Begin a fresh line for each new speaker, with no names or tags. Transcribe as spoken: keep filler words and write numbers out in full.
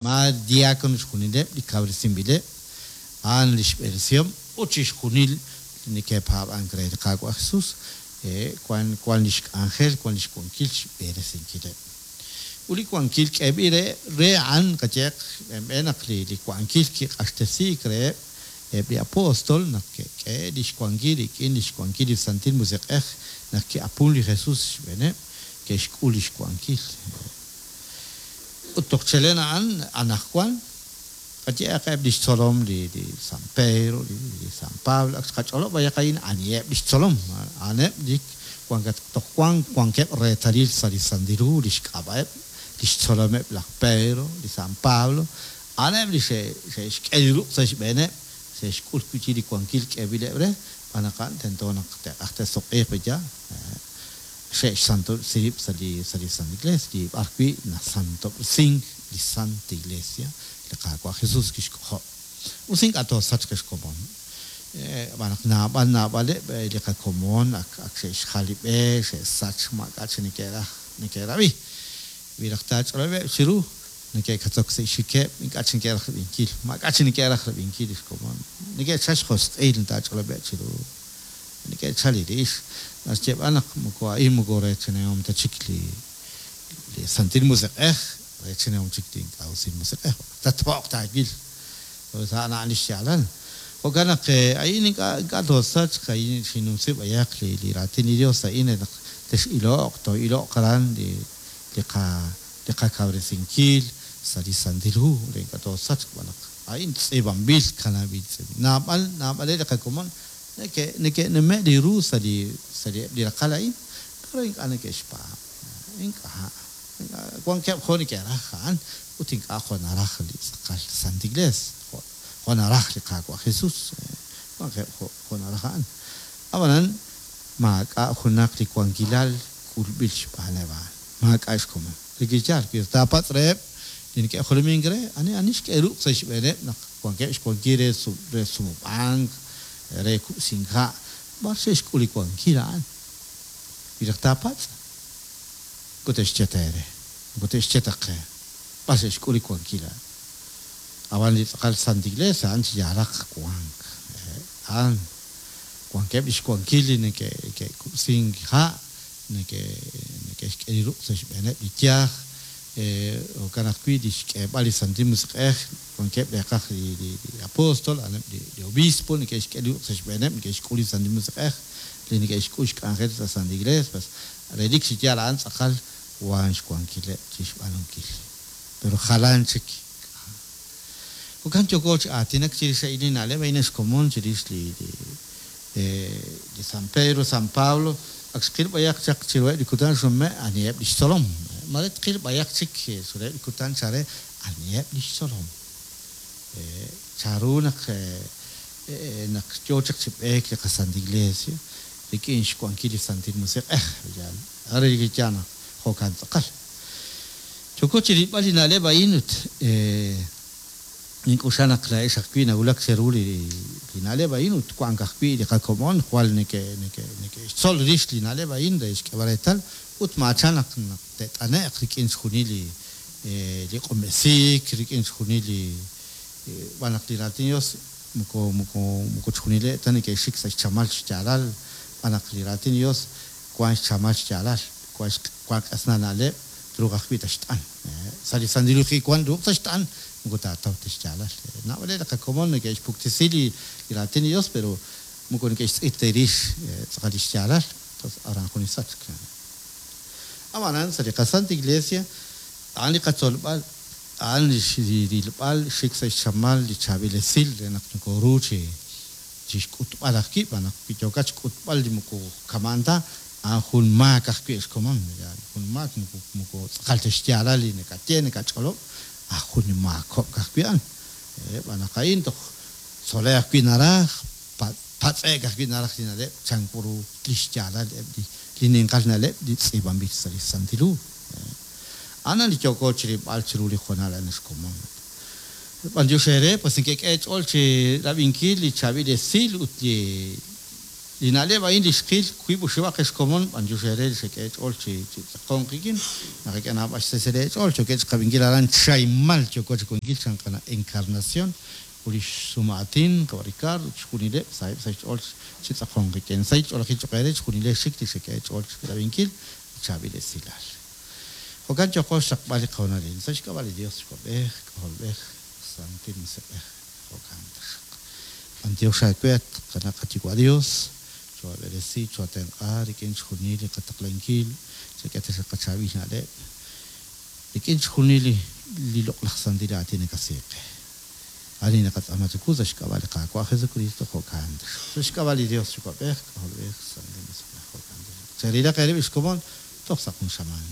Ma diácono xjunileb' li kawresinb'ileb', a'an li xb'eresihom ut chixjunil li neke'paab'ank re li Qaawa' Jesus, wan wan lix k'anjel, wan lix wankil xb'eresinkileb'. Ut li wankil k'eeb'il re re a'an qayehaq xb'een naq li li wankil kiq'axtesiik reheb' eb' li apóstol naq ke'k'e lix wankil rik'in lix wankil li Santil Musiq'ej naq ki'apun li Jesus xb'eeneb' ke'xk'ul lix wankil. Ut toj chelen a'an anaqwan qayehaq eb' lix tzolom li li San Pedro, li, li San Pablo, ak xqach'olob' b'ayaq a'in aniheb' lix tzolom, a'aneb' li wankat toj wan wankeb' reetalil sa' li Santil Hu lix k'ab'a'eb' lix tzolomeb' laj Pedro, li San Pablo, a'aneb' li xe'xk'e li ruq' sa' xb'eeneb', xe'xk'ul wi' chik li wankil k'eeb'ileb' re, b'an naq a'an tento naq te'q'aj te'suq'iiq b'eya, xe'xsantob'resi rib' sa' li sa' li Santa Iglesia, li b'ar wi' nasantob'resink li Santa Iglesia, li Qaawa' Jesus kixk'ojob'. Us ink'a' toosachq xkomon. B'an naq naab'al naab'aleb' li qakomon ak ak xe'xjal li b'e, xe'sach maak'a' chi neke'raj neke'rab'i. Wi raj taach'olob'eb' chiru, neke'katzok sa' xxikeb', ink'a' chi neke'raj rab'inkil, maak'a' chi neke'raj rab'inkil li xkomon. Neke'chal xjosq'il taach'olob'eb' chiru. Neke'chal li rix. Naxyeeb'al naq moko a'in moko reechanihom ta chik li li Santil Musiq'ej, reechanihom chik li ink'a' usil musiq'ej. Tatpo'q taawil. A'an a'an li xyaalal. Jo'kan naq a'in ink'a' ink'a' toosachq, a'in xinnumsi b'ayaq li li raatin li Dios a'in naq tex'iloq, too'iloq aran li li qa li qakawresinkil sa' li Santil Hu, re ink'a' toosachq b'an naq a'in tz'iib'anb'il kanab'il tz'iib'. Naab'al naab'aleb' li qakomon neke neke'nume' li ru sa' li sa' li eb' li raqal a'in, pero ink'a' neke'xpaab'. Ink'a' wankeb' jo' neke'raj a'an ut ink'a' jo' naraj li tz'aqal Santa Iglesia, jo' jo' naraj li Qaawa' Jesus, wankeb' jo' jo' naraj a'an. Ab'anan maak'a' junaq li wankilal k'ulb'il xb'aaneb' a'an, maak'a' xkomon. Li yaal wi taapatz' reheb' li neke'jolomink re, ani ani xk'e ruq' sa' xb'eeneb' naq wankeb' xwankil re re sumub'ank, re kub'sink ha', b'ar xe'xk'ul li wankil a'an. Wi raj taapatz', moko te'xye ta eere, moko te'xye ta qe, b'ar xe'xk'ul li wankil a'an. Ab'an li tz'aqal Santa Iglesia a'an chi yaalaq wank. A'an wankeb' lix wankil li neke'kub'sink ha', neke'xk'e li ruq' sa' xb'eeneb' li yaj, jo'kan ajwi' li xk'eeb'al li Santil Musiq'ej, wankeb' reeqaj li li apóstol, a'aneb' li li obispo neke'xk'e li ruq' sa' xb'eeneb', neke'xk'ul li Santil Musiq'ej, li neke'xk'ul xk'anjel sa' Santa Iglesia, pues relik chi yaal a'an tz'aqal wan xwankileb' chixb'aanunkil. Pero jalan chik. Jo'kan yooko chi aatinak chirix a'in li na'leb' a'in xkomon chirix li li li San Pedro, San Pablo, ak xqil b'ayaq chaq chiruheb' li kutan xnume' aniheb' lix tzolom. Mare tqil b'ayaq chik chiruheb' li kutan chare aniheb' lix tzolom. Charu naq naq yo chaq chi b'eek li qaSanta Iglesia rik'in xwankil li Santil Musiq'ej, yaal. Are li yaal naq jo'kan tz'aqal. Yooko chi rilb'al li na'leb' a'in ut nink'uxa naq laa'ex ajwi' nawulak cheru li li na'leb' a'in ut wank ajwi' li qakomon jwal neke neke neke'xtzol rix li na'leb' a'in re xk'eeb'al reetal ut maachan naq naq te't'ane'q rik'in xjunil li li q'unb'esiik, rik'in xjunil li b'an naq li raatin Dios moko moko moko chjunileb' ta neke'xik sa' xchamal xyaalal, b'an naq li raatin Dios wan xchamal xyaalal, wan wan q'esna na'leb' truuq ajwi' taxt'an. Sa' li Santil Hu wan ruuq taxt'an, moko taataw ta xyaalal. Naab'aleb' li qakomon neke'xpuktesi li li raatin Dios, pero moko neke'xtz'il ta rix tz'aqal li xyaalal, entonces aran jun li sachk. Ab'anan sa' li qaSanta Iglesia a'an li qatzolb'al, a'an li rilb'al xik sa' xchamal li chaab'il esil re naq nokoru chi chixk'utb'al ajwi', b'an naq wi yookat xk'utb'al li moko kama'an ta, a'an jun maak ajwi' xkomon, jun maak moko moko tz'aqal ta xyaalal li nakaye nakach'olob', aj jun maakob'k ajwi' a'an. B'an naq a'in toj tzolej ajwi' naraj, patz'e'k ajwi' naraj li na'leb' chankuru li xyaalal eb' li li ninqal na'leb' li tz'iib'anb'il sa' li Santil Hu. A'an li yooko chirilb'al chiru li hoonal a'an xkomon. B'antiox eere, pues neke'k'e ch'ool chi rab'inkil li chaab'il esil ut li Li na'leb' a'in li xqil wiib' oxib'aq xkomon b'antiox eere li xek'e eech'ool chi chi tz'aqonk qik'in naqak'e naab'al xsesel eech'ool chokeb' xqab'inkil aran Chaymal yoko chi wankil chan qana' Encarnación ut li xsumaatin qawa' Ricardo chixjunileb' saheb' sa' xch'ool chi tz'aqonk qik'in sahil ch'oolejil cho'q eere chixjunilex xik li xek'e eech'ool chi rab'inkil li chaab'il esilal. Jo'kan yoko xraqb'al li qahoonalil sa' xk'ab'a' li Dios Yuwa'b'ej K'ajolb'ej Santil Musiq'ej jo'kan taxaq. B'antiox aawe at qana' qaYuwa' Dios choab'eresi choatenq'a rik'in chixjunil li qataqlankil chak'e taxaq qachaab'il na'leb' rik'in chixjunil li li loq'laj santil aatin nakasiiqe. Ani naqatz'aama chawu sa' xk'ab'a' li Qaawa' Jesucristo jo'kan taxaq. Sa' xk'ab'a' li Dios Yuwa'b'ej K'ajolb'ej Santil Musiq'ej jo'kan taxaq. Cherilaq eerib' xkomon toj sa' jun xamaan.